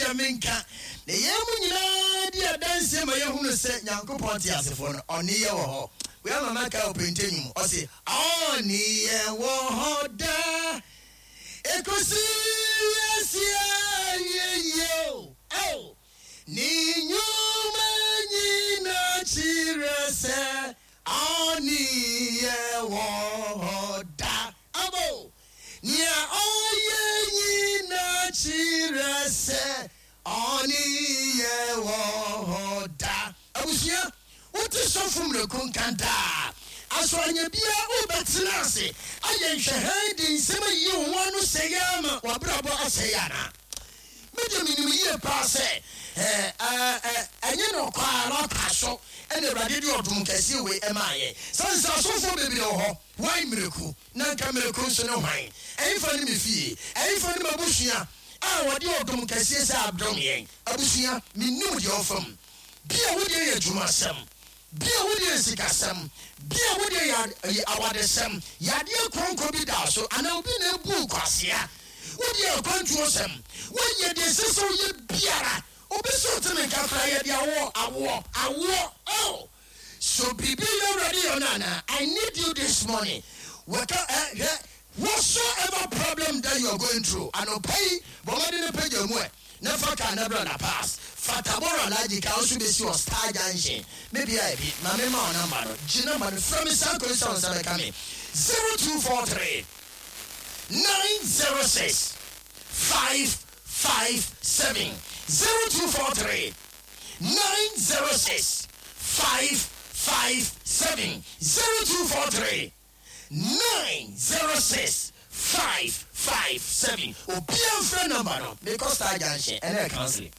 deɛ menka. Na yɛn mu nyinaa di adanseɛ ma yɛhunu sɛ Nyankopɔn teasefoɔ no, ɔne yɛ wɔ hɔ. Wei ama makae ɔpente nnwom, ɔse, Ɔne yɛn wɔ hɔ daa, ɛkɔsi wiase awieeɛ o, ao. Ne nnwuma nyinaa kyerɛ sɛ ɔne yɛn wɔ hɔ daa. Abo! Nea ɔyɛ nyinaa kyerɛ sɛ ɔne yɛn wɔ hɔ daa. Abusua, wote sɔfo mmerɛku nka daa? Aso anyɛ biara wobɛtena ase ayɛ nhwɛhan de nsɛm ayiyi wo ho ano sɛe ara ma w'abrabɔ asɛe anaa? Me deɛ menim yie paa sɛ ɛnyɛ nɔkwa ara kwa so na Awurade de ɔdom kɛseɛ wei maa yɛn. Sane sɛ asɔfoɔ bebree wɔ hɔ, why Miraku? Na anka Miraku nso ne hwan? Ɛhefa ne me fie? Ɛhefa ne m'abusua a wɔde ɔdom kɛseɛ sɛ adom yɛn? Abusua, mennim deɛ ɔfa mu. Bia wo deɛ yɛ adwumasɛm, Bia wo deɛ yɛ sikasɛm, bia wo deɛ yɛ awadesɛm, yadeɛ kronkron bi da so, anaa obi na abu wo kwasea, wo deɛ yɛ akwantuosɛm, woayɛ deɛ ɛsɛ sɛ woyɛ biara, obi sɛ ɔte me nka koraa yɛde awoɔ, awoɔ, awoɔ, oh, so biribi yɛ Awurade yɛ ɔno anaa, I need you this morning, wɔka eh, hwɛ, whatsoever problem that you are going through, anɔpa yi, bɔ mmɔden na pagya mu ɛ. Na fa car na bra La Paz. Fa Tabora Alhaji car nso besi wɔ Star Junction. Me bea bi, ma me ma wo number no. Gye number no, frɛ me saa kwan yi sɛ wo nsa bɛka me, 0243 906 557, 0243 906 557, 0243. 906 557 obiara mfrɛ number no mekɔ star junction ɛnɛ yɛ counseling.